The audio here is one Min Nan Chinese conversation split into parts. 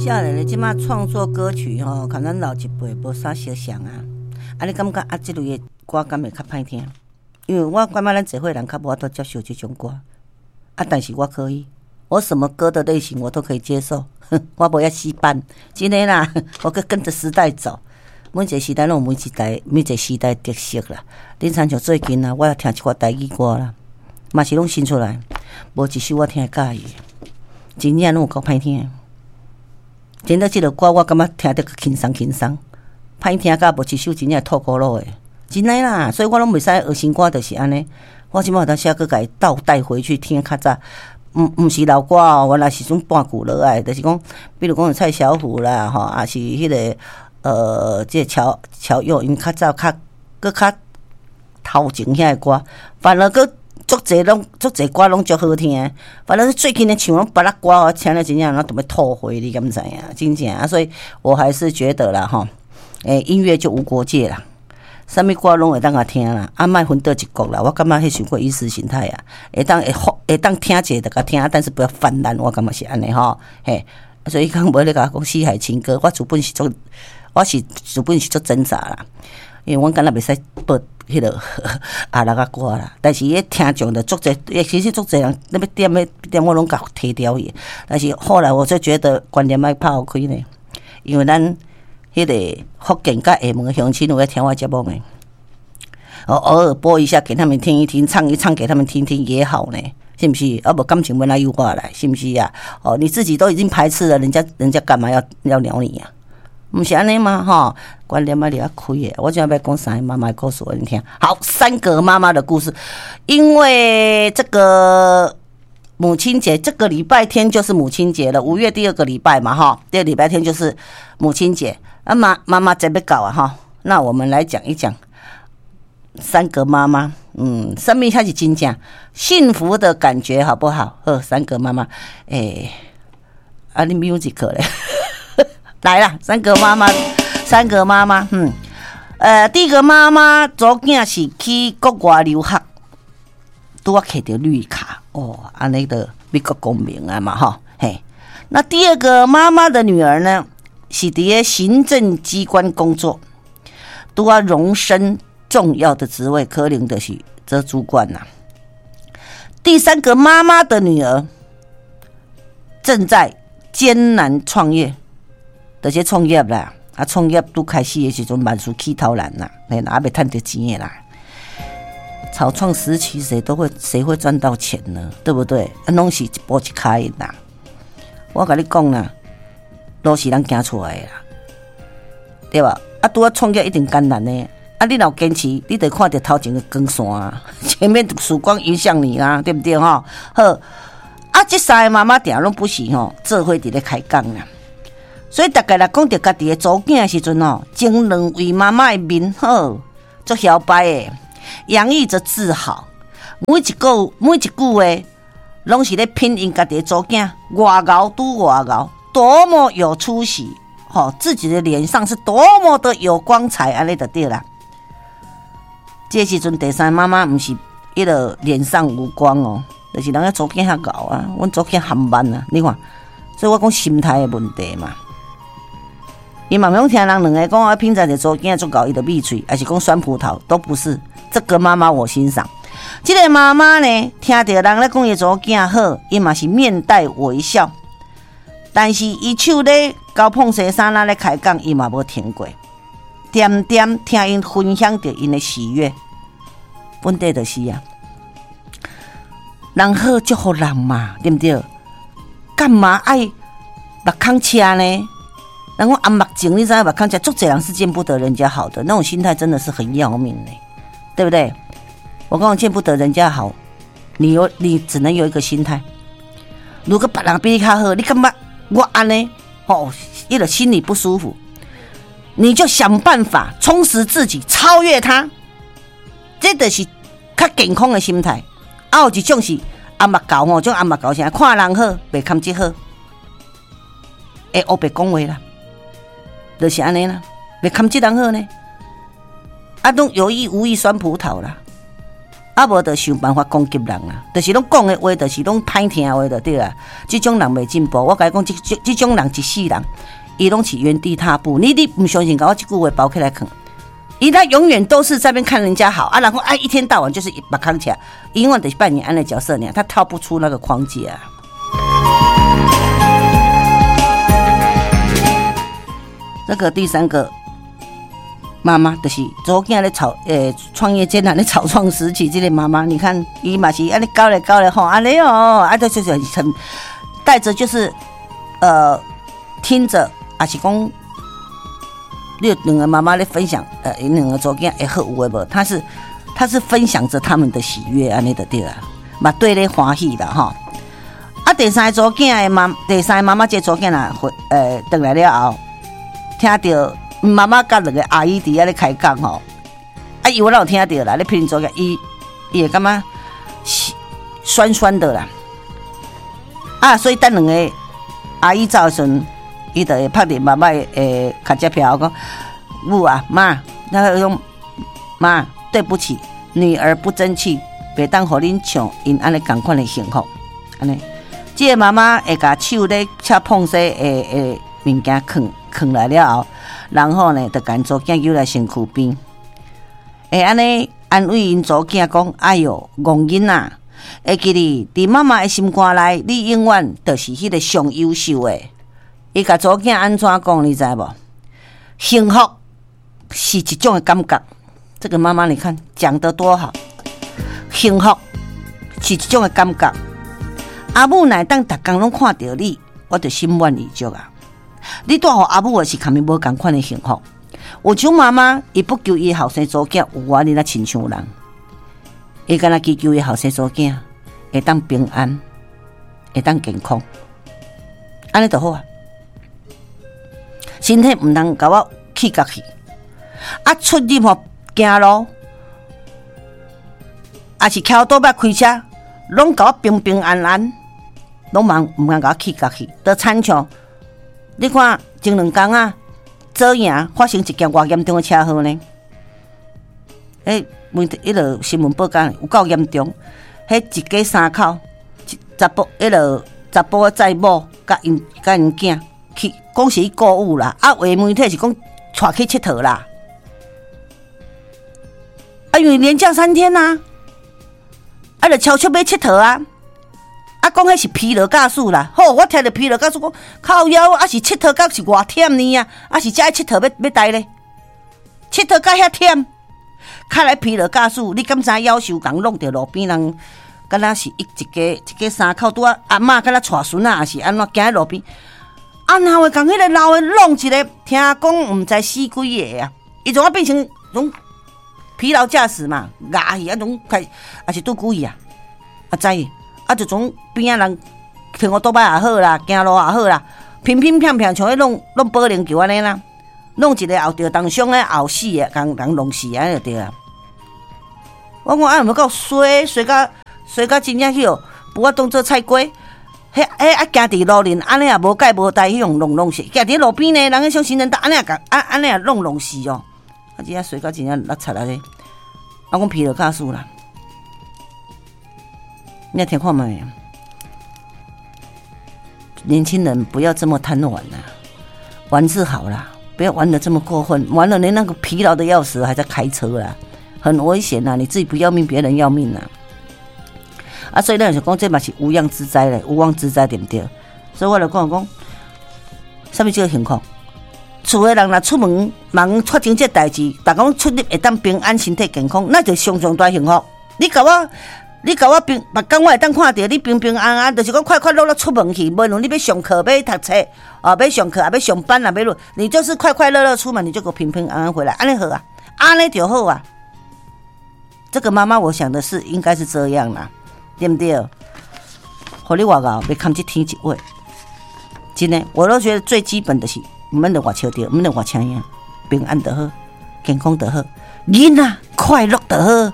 少年的這馬創作歌曲吼，佮咱老一輩無啥相像啊。啊，你感覺啊，這類的歌敢會較歹聽？因為我感覺咱這歲人較無法度接受這種歌。啊，但是我可以，我什麼歌的類型我都可以接受。我無愛死板，真的啦，我閣跟著時代走。每一個時代攏有每一代每一個時代特色啦。恁親像最近啊，我也聽一寡台語歌啦，嘛是攏新出來，無一首我聽會佮意，真正攏有夠歹聽。真的，這個歌我感覺聽得閣輕鬆輕鬆，歹聽甲無一首真正吐苦魯的，真的啦。所以我攏袂使學新歌，就是按呢。我這擺有當時啊，閣共伊倒帶回去聽較早，毋是老歌哦，原來是種半舊落來，就是講，比如講蔡小虎啦，吼，抑是彼個這個喬喬佑，𪜶較早較閣較頭前遐个歌，反而閣足濟攏足濟歌攏足好聽，反正最近的唱攏別仔歌，我聽了真正攏著欲吐血，你敢知影？真正啊，所以我還是覺得啦，吼，音樂就無國界啦。啥物歌攏會當共聽啦，啊，莫分佗一國啦。我感覺彼傷過意識形態啊，會當會會當聽者就共聽，但是不要泛濫。我感覺是按呢吼，嘿。所以講無咧共我講四海情歌，我是資本是足掙扎啦，因為阮敢若袂使播彼個阿拉仔歌啦。但是彼聽眾就足濟，其實足濟人欲點欲點，我攏共提掉去。但是後來我就覺得觀念愛拋開呢，因為咱彼個福建佮廈門鄉親有咧聽我節目的，我偶爾播一下給他們聽一聽，唱一唱給他們聽聽也好呢，是毋是？啊無感情欲按怎由我來，是毋是啊？哦，你自己都已經排斥了，人家幹嘛要鳥你啊？毋是按呢嗎？吼，觀念愛掠開的。我這欲講三個媽媽的故事，予恁聽。好，三個媽媽的故事，因為這個母親節，這個禮拜天就是母親節了，5月第二個禮拜嘛，哈，第二禮拜天就是母親節。啊，媽媽節欲到啊，哈，那我們來講一講三個媽媽，啥物才是真正幸福的感覺，好不好？好，三個媽媽，啊，你 music 咧，來啦，三個媽媽，三個媽媽，第一個媽媽查某囝是去國外留學，拄仔摕著綠卡，哦，按呢就美國公民啊嘛，吼，嘿。那第二個媽媽的女兒呢，是佇咧行政機關工作，拄仔榮升重要的職位，可能就是做主管啦。第三個媽媽的女兒正在艱難創業，就是創業啦，啊，創業拄開始的時陣，萬事起頭難啦，嘿，還未趁著錢的啦。草創時期，誰會賺到錢呢？對不對？啊，攏是一步一跤印啦。我共你講啦，路是人行出來的啦，對吧？啊，拄仔創業一定艱難的。啊，你若有堅持，你就看著頭前的光線啊，前面曙光迎向你啦，對不對？吼，好。啊，這三个媽媽定攏不是吼，做伙佇咧開講啦。所以逐家若講著家己的查某囝的時陣吼，前兩位媽媽的面好，足囂擺的，洋溢著自豪。每一句話，攏是咧品𪜶家己的查某囝，偌𠢕拄偌𠢕，多麼有出息，吼，自己的臉上是多麼的有光彩，按呢就對啦。這時陣第三媽媽毋是彼個臉上無光哦，就是人家查某囝較𠢕啊，阮查某囝含慢啊，你看，所以我講心態的問題嘛。伊嘛毋用聽人兩个講啊，平常的查某囝足𠢕，伊就閉喙，抑是講酸葡萄，都不是。這個媽媽我欣賞。這個媽媽呢，聽著人咧講伊查某囝好，伊嘛是面帶微笑。但是伊手咧交膨西衫仔咧開講，伊嘛無停過，恬恬聽𪜶分享著𪜶的喜悅。本底就是啊，人好祝福人嘛，對毋對？幹嘛愛目空赤呢？人講紅目症，你知影目空赤，足濟人是見不得人家好的，那種心態真的是很要命的，對不對？我講見不得人家好，你只能有一個心態。如果別人比你較好，你感覺我按呢？吼，伊就心裡不舒服，你就想辦法充實自己，超越他。這就是較健康的心態。啊，有一種是紅目猴吼，種紅目猴啥，看人好，袂堪得好，會烏白講話啦，就是按呢啦，袂堪得人好呢。啊，攏有意無意酸葡萄啦。啊無就想辦法攻擊人啊，就是攏講的話，就是攏歹聽話就對啊。這種人袂進步，我共你講，這種人一世人，伊攏是原地踏步。你毋相信，共我這句話包起來看，伊他永遠都是在邊看人家好啊，然後啊一天到晚就是目空起來，永遠就是扮演按呢角色呢，他跳不出那個框架。這個第三個。媽媽就是查某囝咧草創業艱難的草創時期，這個媽媽，你看伊嘛是按呢教咧教咧吼，按呢哦，啊，就是很帶著就是聽著，抑是講你有兩個媽媽咧分享，𪜶兩個查某囝會好有的無？他是分享著他們的喜悅，按呢就對啊，嘛綴咧歡喜啦吼。啊，第三個查某囝的媽，第三個媽媽這個查某囝若回轉來了後，聽著。媽媽佮兩個阿姨佇遐咧開講吼，啊，伊我哪有聽著啦？咧批評做個，伊會感覺酸酸的啦。啊，所以等兩個阿姨走的時陣，伊就會拍佇媽媽的跤脊票講：母啊，媽，那個講媽，對不起，女兒不爭氣，袂當予恁像𪜶按呢仝款的幸福。按呢，這個媽媽會共手咧擦碰洗的物件囥囥來了後。然後呢，就共查某囝揪來身軀邊，會按呢安慰𪜶查某囝講：哎喲，戇囡仔，會記得佇媽媽的心肝內，你永遠就是彼個上優秀的。伊共查某囝按怎講，你知無？幸福是一種的感覺。這個媽媽，你看講得多好。幸福是一種的感覺。阿母若會當逐工攏看著你，我就心滿意足啊。你帶予阿母的是共伊無仝款的幸福。有種媽媽，伊不求伊後生查某囝有我你若親像人，伊干焦祈求伊後生查某囝會當平安，會當健康，按呢就好啊。身體毋通共我氣甲去，啊出入吼行路，抑是騎歐多擺開車，攏共我平平安安，攏茫毋通共我氣甲去，就親像。你看前兩工啊，左營發生一件偌嚴重的車禍呢？彼媒體彼落新聞報講有夠嚴重，彼一家三口，查埔彼落查埔載某佮𪜶囝去，講是去購物啦，啊，有的媒體是講𤆬去𨑨迌啦，啊，因為連假三天啊，啊，就超速欲𨑨迌啊。啊，講彼是疲勞駕駛啦，好，我聽著疲勞駕駛講靠腰，啊是𨑨迌到是偌忝呢啊，啊是才愛𨑨迌欲欲呆咧，𨑨迌到遐忝，較來疲勞駕駛，你敢知夭壽共弄著路邊人，敢若是一家三口拄仔阿嬤敢若帶孫仔，抑是按怎行佇路邊，啊哪會共彼個老的弄一個，聽講毋知死幾个啊，伊怎啊變成種疲勞駕駛嘛，咬去啊種開，抑是拄久去啊，啊知。啊，就從邊仔人停烏多擺也好啦，行路也好啦，乒乒乓乓像彼弄弄保齡球按呢啦，弄一个後著重傷的後死的，共人弄死按呢就對啊。我講啊，毋夠衰衰甲衰甲真正去哦，無法當做菜瓜。彼彼啊，行佇路面按呢也無蓋無代，彼種弄弄死，行佇路邊呢，人彼種行人道按呢也共按按呢也弄弄死哦。啊，真正衰甲真正落漆按呢。啊，講疲勞駕駛啦。你聽看覓？年輕人不要這麼貪玩啦，玩是好啦，不要玩得這麼過分，玩了連那個疲勞的要死，還在開車啦，很危險吶！你自己不要命，別人要命啦。啊，所以咱就講這嘛是無妄之災咧，無妄之災對毋對？所以我就講講，啥物叫幸福？厝的人若出門忙發生這代誌，逐家出入會當平安、身體健康，那就上上大幸福。你共我。你共我平，逐工我會當看著你平平安安，就是講快快樂樂出門去。無論你欲上課、欲讀冊，哦，欲上課，欲上班啊，欲落，你就是快快樂樂出門，你就給我平平安安回來，按呢好啊，按呢就好啊。這個媽媽，我想的是應該是這樣啦，對毋對？予你偌𠢕，欲堪這天一話，真的，我都覺得最基本的是，毋免著外笑著，毋免著外聲音，平安就好，健康就好，囡仔快樂就好。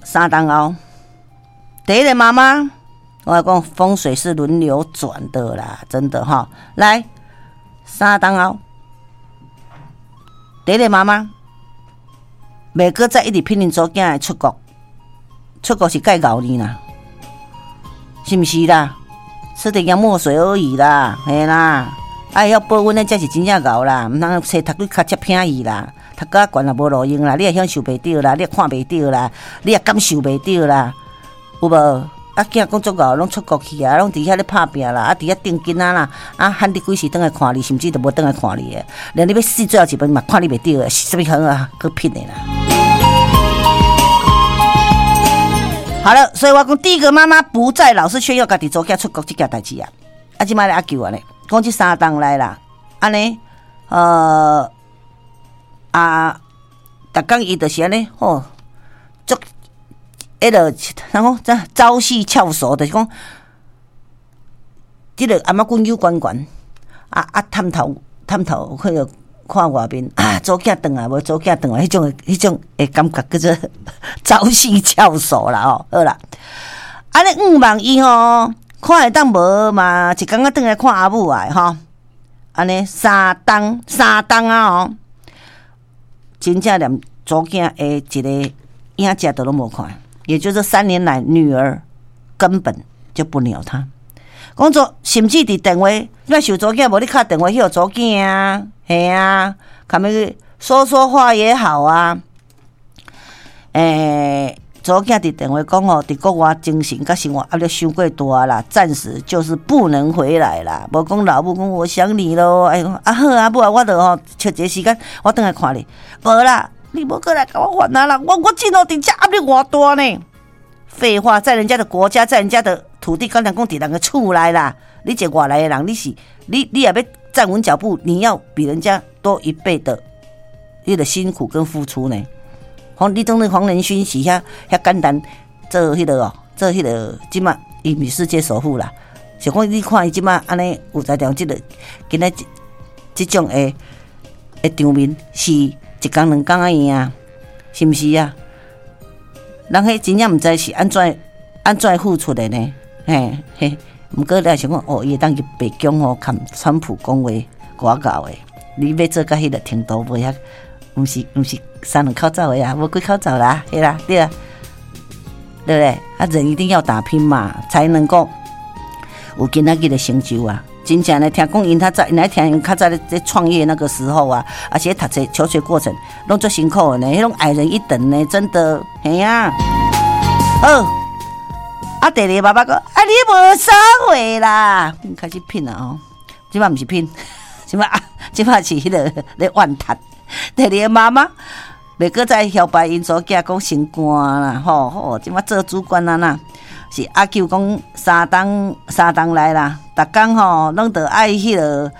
三冬後，第一個媽媽，我講風水是輪流轉的啦，真的哈。來，三冬後，第一個媽媽，袂閣再一直騙𪜶查某囝出國，出國是蓋𠢕呢啦，是毋是啦？吃點洋墨水而已啦，嘿啦，愛曉保溫的才是真正𠢕啦，毋通冊讀幾跤才偏去啦，讀較懸也無路用啦，你也享受袂著啦，你也看袂著啦，你也感受袂著啦，有無？啊，囝講足𠢕，攏出國去啊，攏佇遐咧拍拚啦，啊，佇遐釘囡仔啦，啊，喊你幾時轉來看你，甚至都無轉來看你的，連你欲死最後一晡嘛看你袂著的，是啥物好啊？閣騙的啦！好了，所以我講第一個媽媽不再老是炫耀家己查某囝出國這件代誌啊！啊，這擺咧阿舅按呢，講這三冬來啦，按呢，啊，逐工伊就是按呢，吼，足。彼个啥講？這朝夕翹首，就是講，這個頷仔骨又懸懸，啊啊，探頭探頭，彼個看外面啊，查某囝轉來無？查某囝轉來，彼種的感覺叫做朝夕翹首啦吼。好啦，按呢向望伊吼，看會當無嘛？一工仔轉來看阿母的吼，按呢三冬三冬啊吼，真正連查某囝的一个影子都攏無看。也就是3年來，女兒根本就不鳥他。講做甚至佇電話，你受查某囝無你敲電話去予查某囝啊，嘿啊，共伊說說話也好啊。查某囝佇電話講吼，佇國外精神佮生活壓力傷過大啦，暫時就是不能回來啦。無講老母講我想你囉，哎喲，啊好啊母啊，我著吼抽一個時間，我轉來看你。無啦。你無過來共我煩啊啦！我真哦，佇遮壓力偌大呢。廢話，在人家的國家，在人家的土地，敢若講佇人的厝內啦。你一個外來的人，你是你你也欲站穩腳步，你要比人家多一倍的彼個辛苦跟付出呢。黃你當你黃仁勳是遐遐簡單做彼個哦，做彼個這馬伊毋是世界首富啦。是講你看伊這馬按呢有才調這個今仔這這種的的場面是。一工兩工仔贏啊，是毋是啊？人彼真正毋知是按怎按怎付出的呢？嘿嘿，毋過你也想講，哦，伊會當去白宮吼，共川普講話，偌𠢕的。你欲做到彼個程度，無遐，毋是三兩口罩的啊，無幾口罩啦，對啦，對啊，對不對？啊，人一定要打拼嘛，才能夠有今仔日的成就啊。真正呢，聽講𪜶較早，𪜶來聽𪜶較早咧咧創業那個時候啊，而且讀冊求學過程攏足辛苦的呢，彼種矮人一等呢，真的，嘿啊。好，啊，第二個媽媽講，啊，你無啥貨啦，開始騙啦哦，這擺毋是騙，這擺這擺是彼個咧怨嘆。第二個媽媽袂閣再囂擺𪜶查某囝講升官啦，吼吼，這擺做主管啊啦。是阿舅講三冬三冬來啦，逐工吼攏著愛彼個，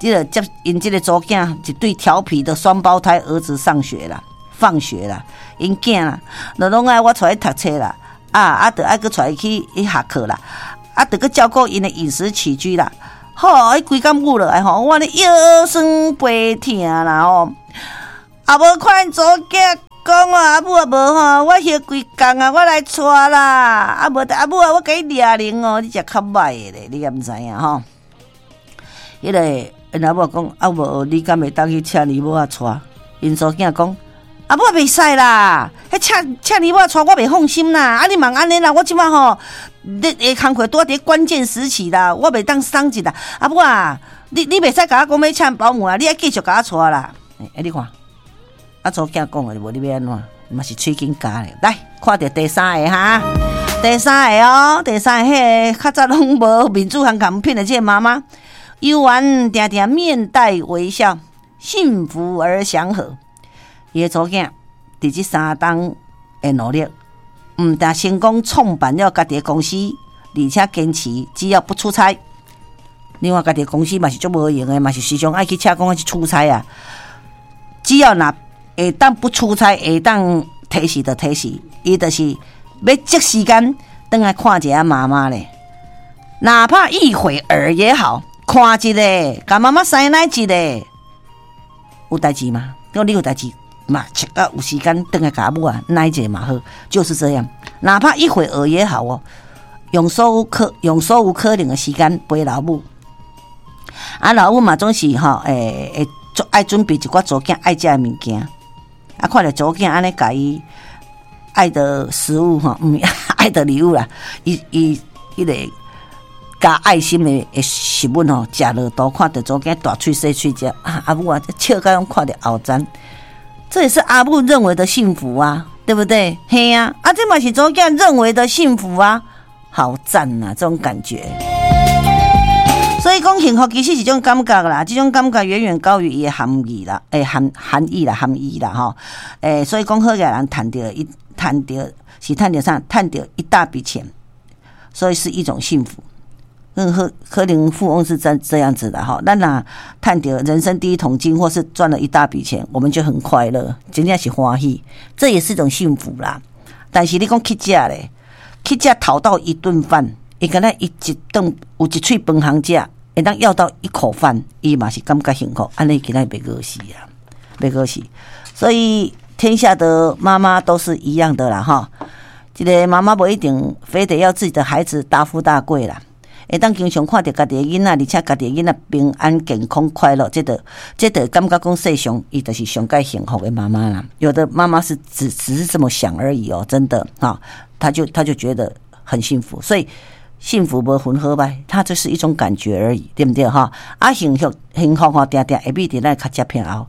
這個接𪜶這個查某囝一對調皮的雙胞胎兒子上學啦，放學啦，𪜶囝啦，就攏愛我帶去讀冊啦，啊啊，著愛閣帶伊去去下課啦，啊，著閣照顧𪜶的飲食起居啦，吼，伊規工舞落來吼，我按呢腰酸背疼啦吼，啊無看𪜶查某囝。講啊，阿母啊無吼，我歇規工啊，我來帶啦。啊無，阿母啊，我共你掠零哦，你食較歹的咧，你敢毋知影吼？彼个𪜶阿母講，啊無，你敢會當去請尼母仔帶？𪜶查某囝講，阿母袂使啦，彼請請尼母仔帶我袂放心啦。啊，你莫按呢啦，我這擺吼，咧下工課拄仔佇關鍵時期啦，我袂當鬆一啦。阿母啊，你袂使共我講欲請保姆啊，你愛繼續共我帶啦。欸，你看。啊，查某囝講的，無你欲按怎？嘛是喙緊咬咧。來，看著第三个哈，第三个哦，第三个彼个較早攏無面子通共騙的這个媽媽，猶原定定面帶微笑，幸福而祥和。伊的查某囝佇這三冬的努力，毋但成功創辦了家己的公司，而且堅持只要不出差。另外，家己的公司嘛是足無閒的，嘛是時常愛去車公去出差啊。只要若會當不出差，會當提時就提時，伊就是欲擠時間轉來看一下媽媽咧，哪怕一會兒也好，看一下，共媽媽師奶一下，有代誌嗎？如果你有代誌嘛，切到有時間轉來共阿母啊奶一下嘛好，就是這樣，哪怕一會兒也好哦，用所有可能的時間陪老母，啊老母嘛總是吼，會會愛準備一寡查某囝愛食的物件。啊，看著查某囝按呢共伊愛的食物吼，毋愛的禮物啦，伊伊彼個加愛心的食物吼，食落肚，看著查某囝大喙細喙食，啊，阿母啊，笑甲攏看著喉顫，這也是阿母認為的幸福啊，對不對？嘿啊，啊，這嘛是查某囝認為的幸福啊，好讚啊，這種感覺。所以講幸福其實是一種感覺啦，這種感覺遠遠高於伊的含義啦，欸，含義啦，含義啦，吼，欸，所以講好額人趁著一趁著是趁著啥？趁著一大筆錢，所以是一種幸福。任何可能富翁是這樣子的哈，咱若趁著人生第一桶金，或是賺了一大筆錢，我們就很快樂，真正是歡喜，這也是一種幸福啦。但是你講乞食咧，乞食討到一頓飯，伊敢若伊一頓有一喙飯通食，會當要到一口飯，伊嘛是感覺幸福，按呢今仔袂餓死啊，袂餓死。所以天下的媽媽都是一樣的啦，哈。這個媽媽無一定非得要自己的孩子大富大貴啦，會當經常看著家己的囡仔，而且家己的囡仔平安、健康、快樂，這個感覺講世上伊就是上蓋幸福的媽媽啦。有的媽媽是只是這麼想而已哦，真的哈，她就覺得很幸福，所以。幸福無分好歹，它就是一種感覺而已，對毋對哈？啊，幸福幸福吼，定定會比佇咱跤跡片後。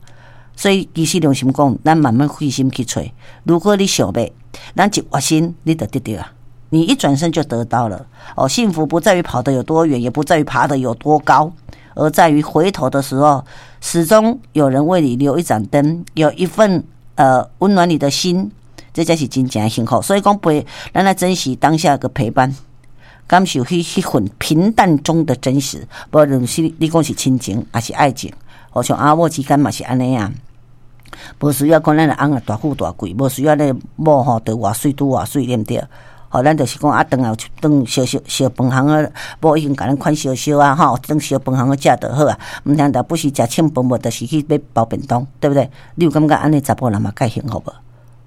所以其實良心講，咱慢慢費心去揣。如果你想欲，咱一轉身，你就得著啊！你一轉身就得到了。哦，幸福不在於跑得有多遠，也不在於爬得有多高，而在於回頭的時候，始終有人為你留一盞燈，有一份溫暖你的心，這才是真正的幸福。所以講陪，咱來珍惜當下的陪伴。感受彼份平淡中的真實，無論是你講是親情，抑是愛情，好像阿某之間嘛是按呢啊。無需要講咱的翁啊大富大貴，無需要咧某吼著偌媠拄偌媠，對毋對？吼，咱就是講啊，頓來有一頓燒燒燒飯烘好，某已經共咱款燒燒啊，吼，頓燒飯烘好食就好啊。毋通但不時食凊飯，無就是去買包便當，對不對？你有感覺按呢查埔人嘛蓋幸福無？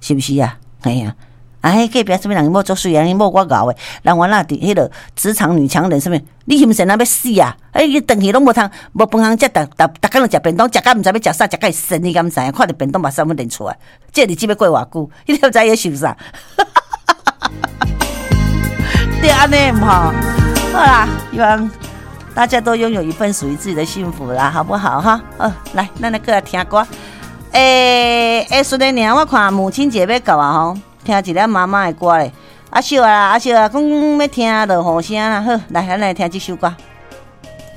是毋是啊？嘿啊！啊，彼隔壁啥物人某足媠啊？𪜶某較𠢕的，人原來佇彼個職場女強人，啥物？你是毋是若欲死啊？哎，伊轉去攏無通，無飯通食，逐逐逐工就食便當，食甲毋知欲食啥，食甲會神，你敢知影？看著便當目屎欲流出來，這日子欲過偌久？你敢知伊咧想啥？對按呢毋吼？好啦，希望大家都擁有一份屬於自己的幸福啦，好不好？哈，好，來，咱來閣來聽歌。欸，欸，順的爾，我看母親節欲到啊吼。聽一个媽媽的歌咧，阿秀啊，阿秀啊，講欲聽落雨聲啦，好，來，咱來聽這首歌。